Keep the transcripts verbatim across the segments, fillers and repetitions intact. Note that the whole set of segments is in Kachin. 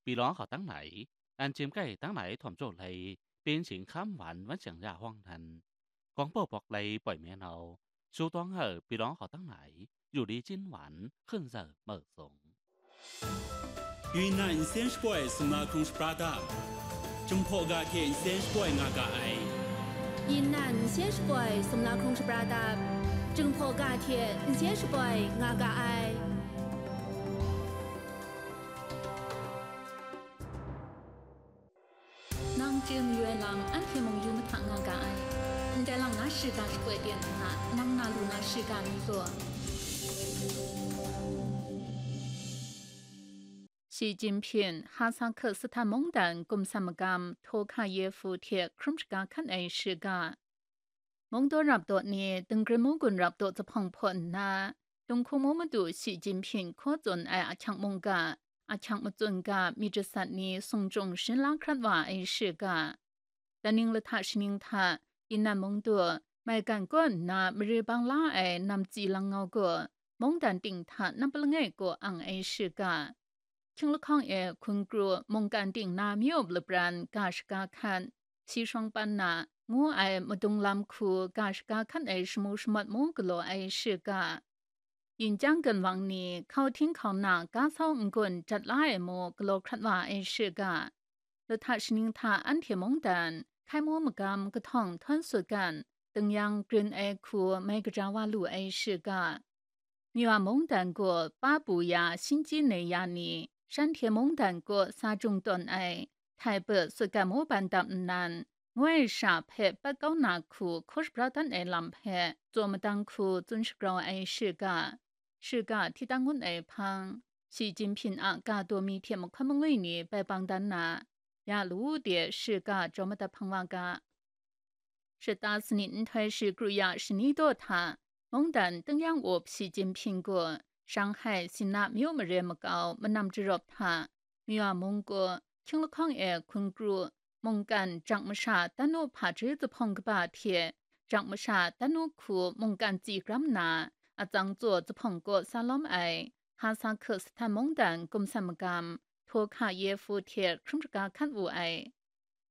ပြည်လောင်းဟောက်တန်း၌ တန်ကျင်ကြိုက်တန်းလာရေးထောင်ကျိုတ်လှဲ ပင်းကျင်ခမ်းဝမ်းဝန်းကျင်ရဟောင်းနှံ ကောင်းပုပ်ပွားလှဲပွိုင်မဲနှောင်း ရှုံးတွင်းဟောက်ပြည်လောင်းဟောက်တန်း၌ယူလီကျင်းဝမ်း ခွင့်ဇာတ်မုတ်ဆုံး Yunnan nsen shapoi sumla hkrung shapra dam, Jinghpaw ga hte nsen shapoi nga ga ai. Yunnan nsen shapoi sumla hkrung shapra dam, Jinghpaw ga hte nsen shapoi nga ga ai. Nang chye mayu ai lam anhte mung yu mahta nga ga ai. Ndai lang na shiga shapoi ten nna, nang na lu na shiga mi zaw. Shi Jinpying Hasa Kazakhstan mungdan gumsam magam Tokayev hte hkrum shaga hkan ai shiga. Mungdaw rap daw ni, Dengrin munggun rap daw zahpawng hpaw nna, Tunghkung mu madu Shi Jinping hkaw tsun ai ahkyang mungga, ahkyang matsun ga myit jasat ni sung jung shin la hkrat wa ai shiga. Daning lahta shaning hta, Yunnan mungdaw, maigan kaw nna mare bang la ai namtsi langngau gaw, mungdan ting hta nampa langai kaw ang ai shiga. Hkying lahkawng e hkun kru mungkan ting na myu up lapran ga shaga hkan, si shawng pan na ngu ai madung lam hku ga shaga hkan ai shamu shamawt mu galaw ai shiga. Yin chyang gun wang ni hkau hting hkau na ga sau n-gun jat la ai mu galaw hkrat wa ai shiga. Lahta shaning hta anhte mungdan, hkai mu magam kahtawng htawn sut gan, tung yang grin ai hku mai kaja wa lu ai shiga. Myu a mungdan gaw pa bu ya shinji nei ya ni, shanhte mungdan gaw sa jung tawn ai, htai put sut gat mu ban dap nnan, ngoi sha hpe pat kau na hku hkaw shabra dan ai lam hpe tsaw madang hku tsun shagrau ai shiga, shiga hti tang ngun ai hpang, Shi Jinping a ga daw mi hte mahkawn mangwi ni bai bang dan na, ya lu de shiga jaw madat hpang wa ga. Shata sanit nhtoi shi kru ya shani daw hta, mungdan tung yang up Shi Jinping gaw, Shanghai Sina myu mare makau manam jarawp hta, Myu a mung gaw, hkying lahkawng e hkun kru, mungkan jang masha tanu hpaji zahpawng kaba hte, jang masha tanu hku mungkan tsi gram na, atsang tsaw zahpawng kaw sa lawm ai, Hasa Kazakhstan mungdan gumsam magam, Tokayev hte hkrum shaga hkan wu ai.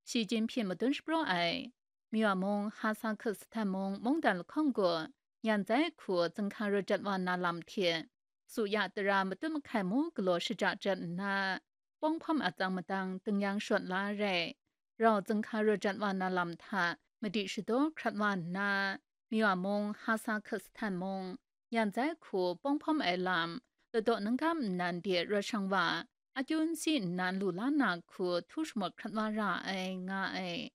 Shi Jinping madun shapraw ai. Myu a mung, Hasa Kazakhstan mung, mungdan lahkawng gaw, nyan zai hku zinghka raw jat wa na lam hte, su ya tara matut mahkai mu galaw shaja jat nna, pawng hpawm atsang madang tung yang shawt la rai, rau zinghka raw jat wa na lam hta madi shadaw hkrat wa nna, Myu a mung, Hasa Kazakhstan mung, nyan zai hku pawng hpawm ai lam, ladaw ningkam nnan de rawt shang wa, akyu n si nnan lu la na hku htu shamawt hkrat wa ra ai, nga ai.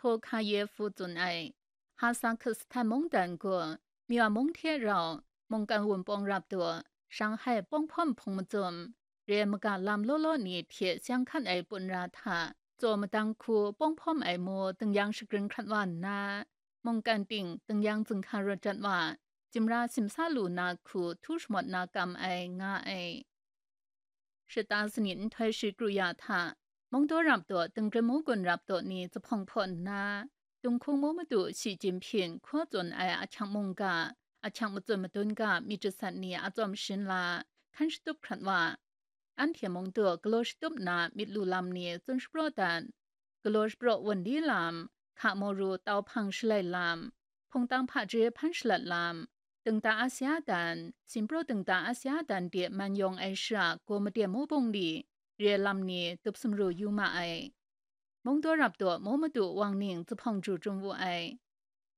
Tokayev tsun ai. Hasa Kazakhstan mungdan gaw, Myu a mung hte rau, mungkan wunpawng rap daw, Shanghai pawng hpawm hpung mazum, re maga lam law law ni hte seng hkan ai pun ra hta, tsaw madang hku pawng hpawm ai mu tung yang shagrin hkrat wa nna, mungkan ting tung yang zinghka raw jat wa, jimra simsa lu na hku htu shamawt na kam ai, nga ai. Shata sanit nhtoi shi kru ya hta, mungdaw rap daw, tingrim mu gun rap daw ni zahpawng hpaw nna, Tunghkung mu madu Shi Jinping hkaw tsun ai ahkyang mungga, ahkyang matsun madun ga myit jasat ni a tsawm shin la, hkan shatup hkrat wa. Anhte mungdaw galaw shatup na myit lu lam ni tsun shapraw dat. Galaw shapraw wunli lam, hka mawru tau hpang shalai lam, hpungtang hpaji hpan shalat lam, dingda Asia dan, sinpraw dingda Asia dan de man yawng ai shara gaw made mu bungli, re lam ni dup sumru yu ma ai. Mungdaw rap daw mu madu wang ning zahpawng ju jung wu ai.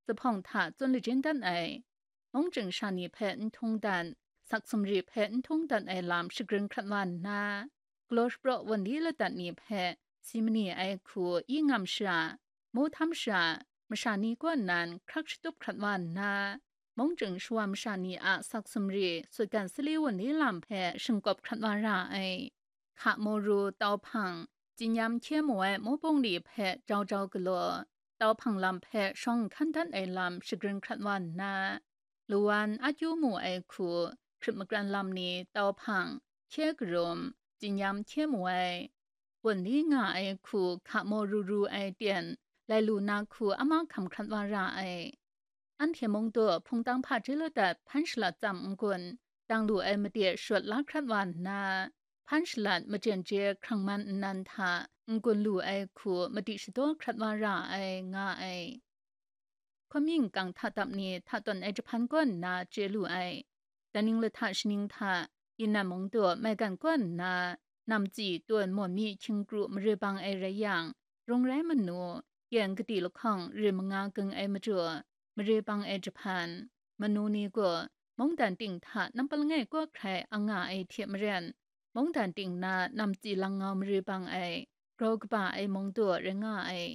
Zahpawng hta tsun lajin dan ai. Mung chying sha ni hpe n htung dan, sak sumri hpe n htung dan ai lam shagrin hkrat wa nna, galaw shapraw wunli ladat ni hpe si mani ai hku i ngam shara, mu htam shara, masha ni kaw nan hkrak shatup hkrat wa nna, mung chying shawa masha ni a sak sumri sutgan sali wunli lam hpe shingkawp hkrat wa ra ai. Hka mawru tau hpang, tsinyam hkye mu ai mu bungli hpe jau jau galaw, tau hpang lam hpe shawng hkan dan ai lam shagrin hkrat wa nna, luwan akyu mu ai hku, hkrit makran lam ni tau hpang, hkye karum, tsinyam hkye mu ai, wunli nga ai hku hka mawru ru ai ten, lai lu na hku ama hkam hkrat wa ra ai. Anhte mungdaw hpungtang hpaji ladat hpan shalat tsam n-gun, dang lu ai made shawt la hkrat wa nna, hpan shalat machyen je hkrang man nnan hta n-gun lu ai hku madi shadaw hkrat wa ra ai, nga ai. Hkawmying kang hta dap ni hta tawn ai jahpan kaw nna chye lu ai. Daning lahta shaning hta, Yinan mung daw maigan kaw nna, namtsi tawn mawn mi hkying kru mare bang ai rai yang, rung rai manu, yan kadi lahkawng rim manga gung ai majaw, mare bang ai jahpan, manu ni gaw mungdan ting hta nampa langai kaw hkrai ang nga ai hte maren, mungdan ting na namtsi langngau mare bang ai, grau kaba ai mung daw rai nga ai.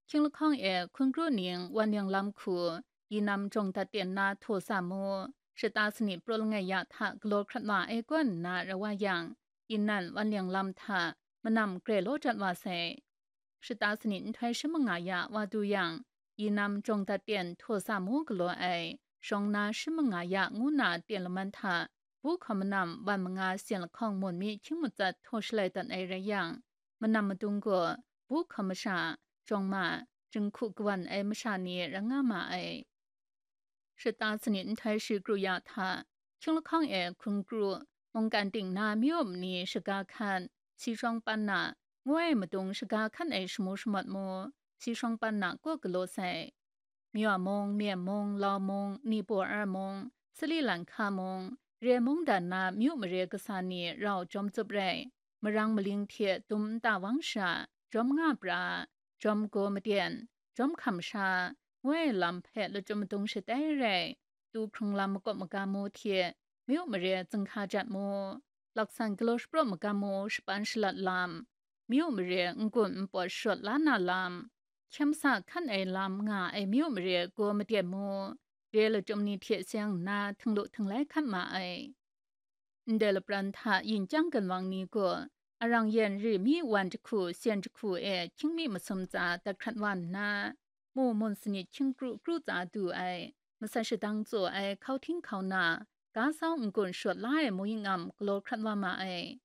Hkying lahkawng e hkun kru ning wan yang lam hku, Yinan jawng dat ten na htaw sa mu, shata sanit praw langai ya hta galaw hkrat wa ai kaw nna rawai yang, Yinan wan yang lam hta manam grai law dat wa sai. Shata sanit nhtoi shi manga ya wa du yang, Yinan jawng dat ten htaw sa mu galaw ai, shawng na shi manga ya ngu na ten laman hta, bu hkawm manam wan manga syan lahkawng mawn mi hkying matsat htaw shalai dat ai rai yang, manam madung gaw bu hkawm masha, jawng ma, jinghku kawan ai masha ni rai nga ma ai. Shata sanit nhtoi shi kru ya hta, hkying lahkawng e hkun kru, mungkan ting na myu mani shaga hkan, si shawng pan na, ngu ai madung shaga hkan ai shamu shamawt mu, si shawng pan na kaw galaw sai. Myaw mung, Myen mung, Lau mung, Nibaw-ar mung, Sali Lanhka mung, re mungdan na myu mare kasa ni rau jawm tsup rai, marang maling hte dum nta wang sha, jawm nga pra, jawm gaw maten, jawm hkam sha, ngu ai lam hpe lachyum madung shatai rai, tu hkrung lam makawp magam mu hte, myu mare zunghka jat mu, laksan galaw shapraw magam mu shapan shalat lam, myu mare n-gun n-pawt shawt la na lam, hkyem sa hkan ai lam nga ai myu mare gaw maten mu, re lachyum ni hte seng nna htinglu htinglai hkat ma ai. Ndai lapran hta yin chyang ganwang ni gaw, arang yen ri mi wan jahku syan jahku e hkying mi masum tsa dat hkrat wa nna, mu mun sanit hkying kru kru tsa du ai, masat shadang tsaw ai hkau hting hkau na, ga sau n-gun shawt la ai mung ying am galaw hkrat wa ma ai.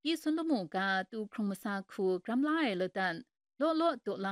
Pyi sun lamu ga tu hkrung masa hku gram la ai ladan, law law daw la